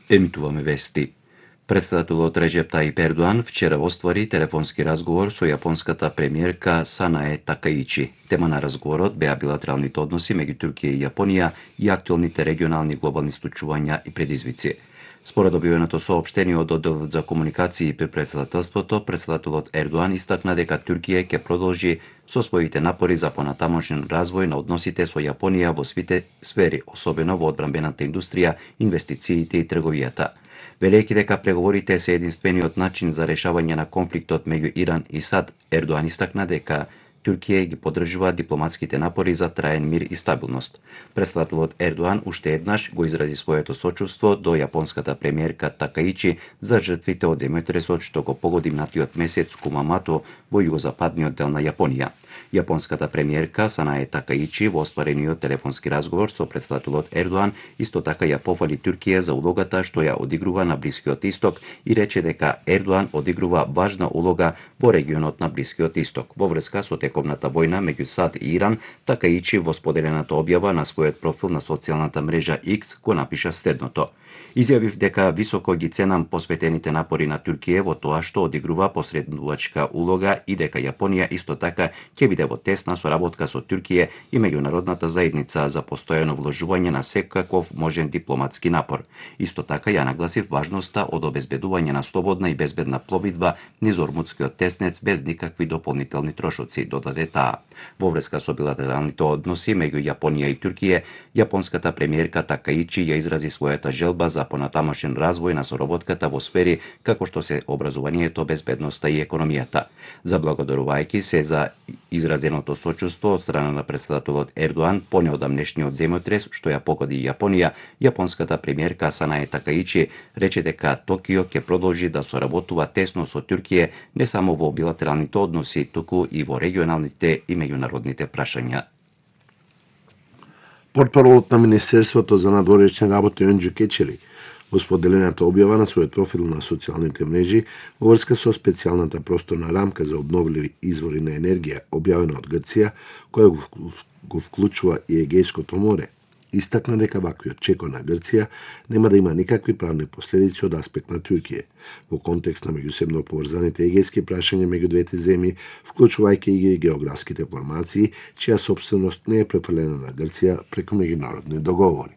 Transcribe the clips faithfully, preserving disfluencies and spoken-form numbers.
Емитуваме вести. Председателот Реджеп Таип Ердоан вчера оствари телефонски разговор со јапонската премиерка Санае Такаичи. Тема на разговорот беа билатералните односи меѓу Туркија и Јапонија и актуелните регионални глобални случувања и предизвици. Според објавеното соопштение од одделот за комуникации при председателството, председателот Ердоан истакна дека Туркија ќе продолжи со своите напори за понатамошен развој на односите со Јапонија во сите сфери, особено во одбранбената индустрија, инвестициите и трговијата. Велејќи дека преговорите се единствениот начин за решавање на конфликтот меѓу Иран и САД, Ердоан истакна дека Туркија ги поддржува дипломатските напори за траен мир и стабилност. Председателот Ердоан уште еднаш го изрази своето сочувство до јапонската премиерка Такаичи за жртвите од земјотресот што го погоди минатиот месец Кумамото во југозападниот дел на Јапонија. Јапонската премиерка Санае Такаичи во остварениот телефонски разговор со председателот Ердоан исто така ја пофали Туркија за улогата што ја одигрува на Блискиот Исток и рече дека Ердоан одигрува важна улога во регионот на Блискиот Исток. Во врска со тековната војна меѓу САД и Иран, Такаичи во споделената објава на својот профил на социјалната мрежа X го напиша следното: Изјавив дека високо ги ценам посветените напори на Туркија во тоа што одигрува посредувачка улога и дека Јапонија исто така ќе биде во тесна соработка со Туркија и меѓународната заедница за постојано вложување на секаков можен дипломатски напор. Исто така ја нагласив важноста од обезбедување на слободна и безбедна пловидба низ Ормутскиот теснец без никакви дополнителни трошоци, додаде таа. Во врска со билатералните односи меѓу Јапонија и Туркија, јапонската премиерка Такаичи ја изрази својата желба за понатамошен развој на соработката во сфери како што се образованието, безбедноста и економијата. Заблагодарувајќи се за изразеното сочувство од страна на председателот Ердоан по неодамнешниот земјотрес што ја погоди Јапонија, јапонската премиерка Санае Такаичи рече дека Токио ќе продолжи да соработува тесно со Туркија не само во билатералните односи, туку и во регионалните и меѓународните прашања. Портпаролот на Министерството за надворешни работи Өнџу Кечели во споделената објава на својот профил на социјалните мрежи во врска со специјалната просторна рамка за обновливи извори на енергија објавена од Грција, која го вклучува и Егејското море, истакна дека ваквиот чекор на Грција нема да има никакви правни последици од аспект на Туркија, во контекст на меѓусебно поврзаните егејски прашања меѓу двете земји, вклучувајќи и географските формации, чија собственост не е префрлена на Грција преку меѓународни договори.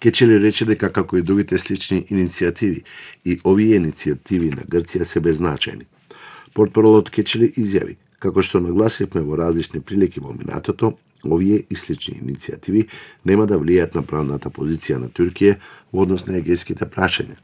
Кечели рече дека како и другите слични иницијативи, и овие иницијативи на Грција се беззначајни. Портпаролот Кечели изјави, како што нагласивме во различни прилики во минатото, овие и слични иницијативи нема да влијаат на правната позиција на Туркија во однос на егејските прашања,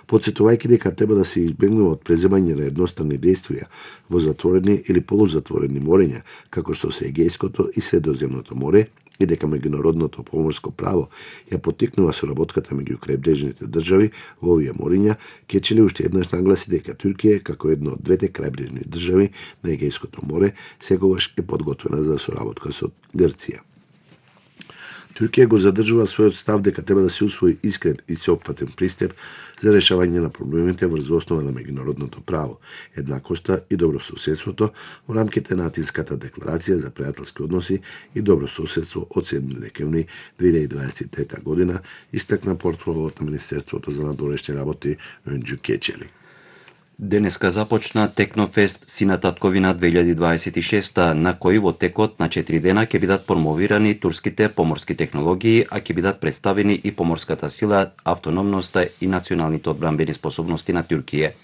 потсетувајќи дека треба да се избегнува од преземање на едностранни действија во затворени или полузатворени морења, како што се Егејското и Средоземното море, и дека меѓународното поморско право ја поттикнува соработката меѓу крајбрежните држави во овие морења, Кечели уште еднаш нагласи дека Туркија, како една од двете крајбрежни држави на Егејското море, секогаш е подготвена за соработка со Грција. Туркија го задржува својот став дека треба да се усвои искрен и сеопфатен пристап за решавање на проблемите врз основа на меѓународното право, еднакоста и добрососедството во рамките на Атинската декларација за пријателски односи и добрососедство од седми декември две илјади дваесет и трета година, истакна портпаролот на Министерството за надворешни работи Өнџу Кечели. Денеска започна Технофест Сина татковина две илјади дваесет и шеста, на кој во текот на четири дена ќе бидат промовирани турските поморски технологии, а ќе бидат представени и поморската сила, автономноста и националните одбранбени способности на Туркија.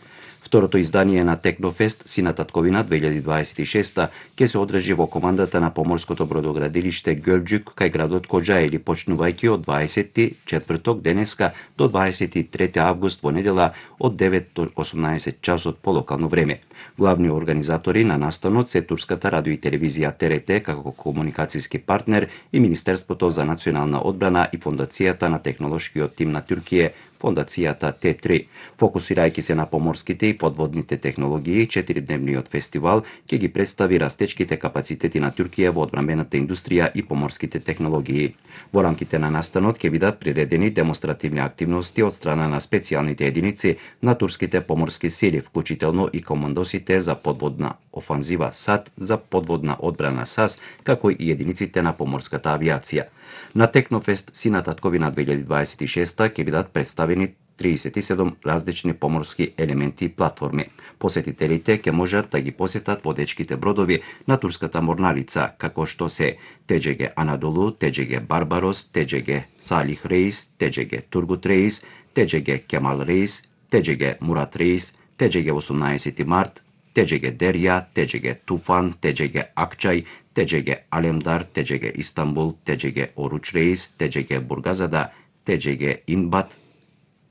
Второто издание на Технофест Сина татковина две илјади дваесет и шеста ќе се одржи во командата на поморското бродоградилиште Ѓелџук кај градот Коџаели, почнувајќи од дваесети четврток денеска до дваесет и трети август во недела од девет до осумнаесет часот по локално време. Главни организатори на настанот се турската радио и телевизија Т Р Т како комуникацијски партнер и Министерството за национална одбрана и Фондацијата на технолошкиот тим на Туркија, Фондацијата Т три. Фокусирајќи се на поморските и подводните технологии, четиридневниот фестивал ќе ги представи растечките капацитети на Туркија во одбранбената индустрија и поморските технологии. Во рамките на настанот ќе бидат приредени демонстративни активности од страна на специјалните единици на турските поморски сили, вклучително и командосите за подводна офанзива САД, за подводна одбрана САС, како и единиците на поморската авиација. На Технофест Сина татковина две илјади дваесет и шеста ќе бидат представени триесет и седум различни поморски елементи и платформи. Посетителите ќе можат да ги посетат водечките бродови на турската морнарица, како што се Т Џ Г Анадолу, Т Џ Г Барбарос, Т Џ Г Салих Рейс, Т Џ Г Тургут Рейс, Т Џ Г Кемал Рейс, Т Џ Г Мурат Рейс, Т Џ Г осумнаесети март, Т Џ Г Дерја, Т Џ Г Туфан, Т Џ Г Акчај, Т Џ Г Алемдар, Т Џ Г Истанбул, Т Џ Г Оруч Рейс, Т Џ Г Бургазада, Т Џ Г Инбат,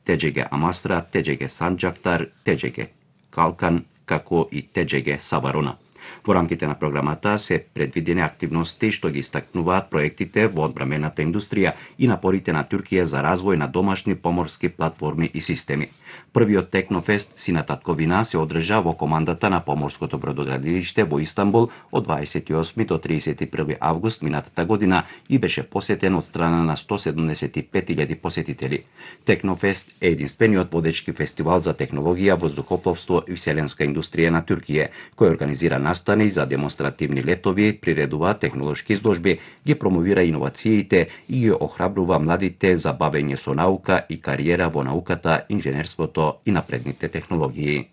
Т Џ Г Амастра, Т Џ Г Санџактар, Т Џ Г Калкан, како и Т Џ Г Саварона. Во рамките на програмата се предвидени активности што ги истакнуваат проектите во одбрамбената индустрија и напорите на Туркија за развој на домашни поморски платформи и системи. Првиот Технофест Сина татковина се одржа во командата на поморското бродоградилиште во Истанбул од дваесет и осми до триесет и први август минатата година и беше посетен од страна на сто седумдесет и пет илјади посетители. Технофест е единствениот водечки фестивал за технологија, воздухопловство и вселенска индустрија на Туркија, кој организира настани за демонстративни летови, приредува технолошки изложби, ги промовира иновациите и ги охрабрува младите за бавење со наука и кариера во науката, инженерството и напредните технологии.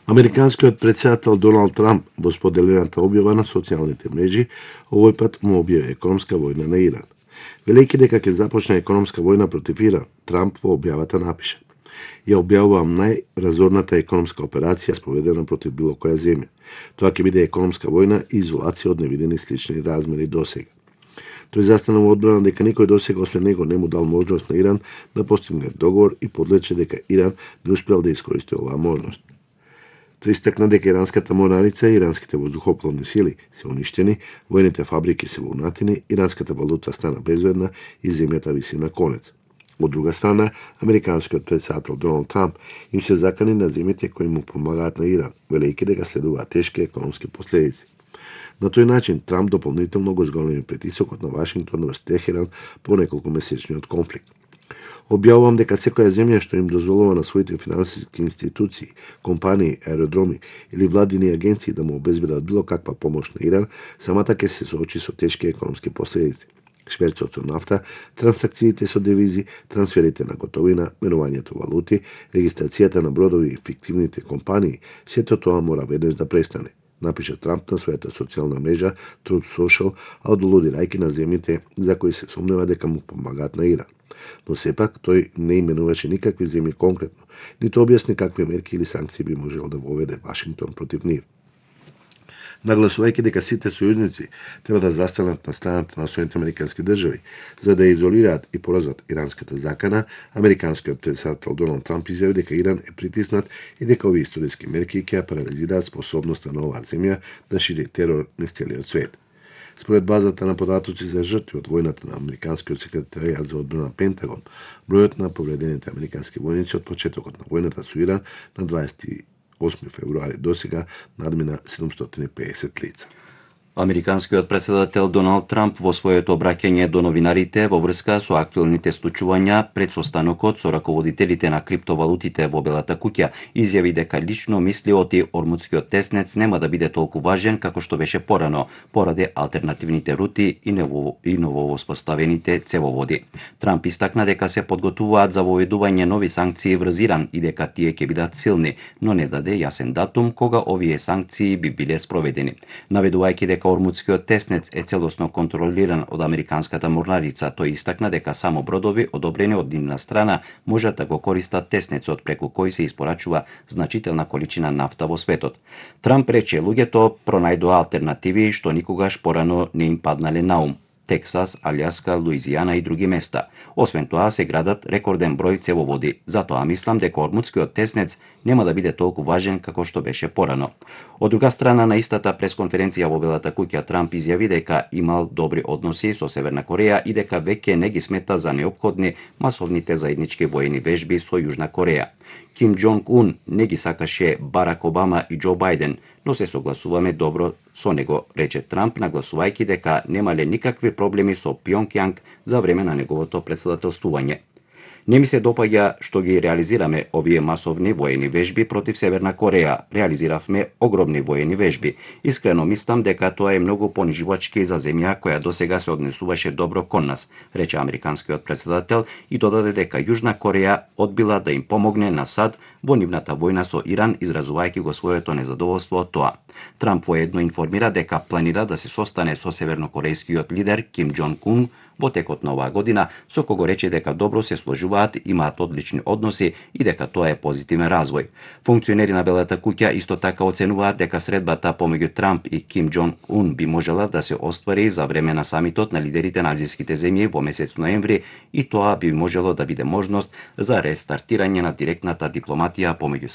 Американскиот претседател Доналд Трамп во споделената објава на социјалните мрежи овој пат му објави економска војна на Иран. Велејќи дека ќе започне економска војна против Иран, Трамп во објавата напиша: "Ја објавувам најразорната економска операција спроведена против било која земја. Тоа ќе биде економска војна и изолација од невидени слични размери досега." Тој застана во одбрана дека никој досега освен него не му дал можност на Иран да постигне договор и подлече дека Иран не успел да искористи оваа можност. Тој истакна дека иранската морнарица и иранските воздухопловни сили се уништени, војните фабрики се во унатини, иранската валута стана безвредна и земјата виси на конец. Од друга страна, американскиот претседател Доналд Трамп им се закани на земјите кои му помагаат на Иран, велејќи дека следуваат тешки економски последици. На тој начин, Трамп дополнително го зголеми притисокот на Вашингтон врз Техеран по неколку месечниот конфликт. Објавувам дека секоја земја што им дозволува на своите финансиски институции, компании, аеродроми или владини агенции да му обезбедат било каква помош на Иран, самата ќе се соочи со тешки економски последици. Шверцот со нафта, трансакциите со девизи, трансферите на готовина, менувањето валути, регистрацијата на бродови и фиктивните компании, сето тоа мора веднаш да престане, напиша Трамп на својата социјална мрежа Truth Social, одолудирајќи на земјите за кои се сомнева дека му помагаат на Иран. Но сепак тој не именуваше никакви земји конкретно, ниту објасни какви мерки или санкции би можел да воведе Вашингтон против нив. Нагласувајќи дека сите сојузници треба да застанат на страната на Соединетите американски држави за да изолираат и поразат иранската закана, американскиот претседател Доналд Трамп изјави дека Иран е притиснат и дека овие историски мерки ќе ја парализираат способноста на оваа земја да шири терор низ целиот свет. Според базата на податоци за жртви од војната на американскиот секретаријат за одбрана Пентагон, бројот на повредените американски војници од почетокот на војната со Иран на дваесет и осми февруари досега надмина седумстотини и педесет лица. Американскиот претседател Доналд Трамп во своето обраќање до новинарите во врска со актуелните случувања пред состанокот со раководителите на криптовалутите во Белата куќа изјави дека лично мисли оти Ормудскиот теснец нема да биде толку важен како што беше порано, поради алтернативните рути и ново и нововоспоставените цевоводи. Трамп истакна дека се подготвуваат за воведување нови санкции врз Иран и дека тие ќе бидат силни, но не даде јасен датум кога овие санкции би биле спроведени. Наведувајќи дека Ормудскиот теснец е целосно контролиран од американската морнарица, тој истакна дека само бродови одобрени од нивна страна можат да го користат теснецот преку кој се испорачува значителна количина нафта во светот. Трамп рече луѓето пронајдоа алтернативи што никогаш порано не им паднале на ум. Тексас, Алјаска, Луизијана и други места. Освен тоа се градат рекорден број цевоводи. Затоа мислам дека Ормудскиот теснец нема да биде толку важен како што беше порано. Од друга страна, на истата пресконференција во Белата куќа Трамп изјави дека имал добри односи со Северна Кореја и дека веќе не ги смета за неопходни масовните заеднички воени вежби со Јужна Кореја. Ким Џонг Ун не ги сакаше Барак Обама и Џо Бајден, но се согласуваме добро со него, рече Трамп, нагласувајќи дека немале никакви проблеми со Пјонкјанг за време на неговото претседателствување. Не ми се допаѓа што ги реализираме овие масовни воени вежби против Северна Кореја. Реализиравме огромни воени вежби. Искрено мислам дека тоа е многу понижувачки за земја која досега се однесуваше добро кон нас, рече американскиот претседател и додаде дека Јужна Кореја одбила да им помогне на САД во нивната војна со Иран, изразувајќи го своето незадоволство од тоа. Трамп воедно информира дека планира да се состане со севернокорејскиот лидер Ким Џонг Ун во текот на оваа година, со кого рече дека добро се сложуваат, имаат одлични односи и дека тоа е позитивен развој. Функционери на Белата куќа исто така оценуваат дека средбата помеѓу Трамп и Ким Џонг Ун би можела да се оствари за време на самитот на лидерите на азијските земји во месец ноември и тоа би можело да биде можност за рестартирање на директната дипломатија помеѓу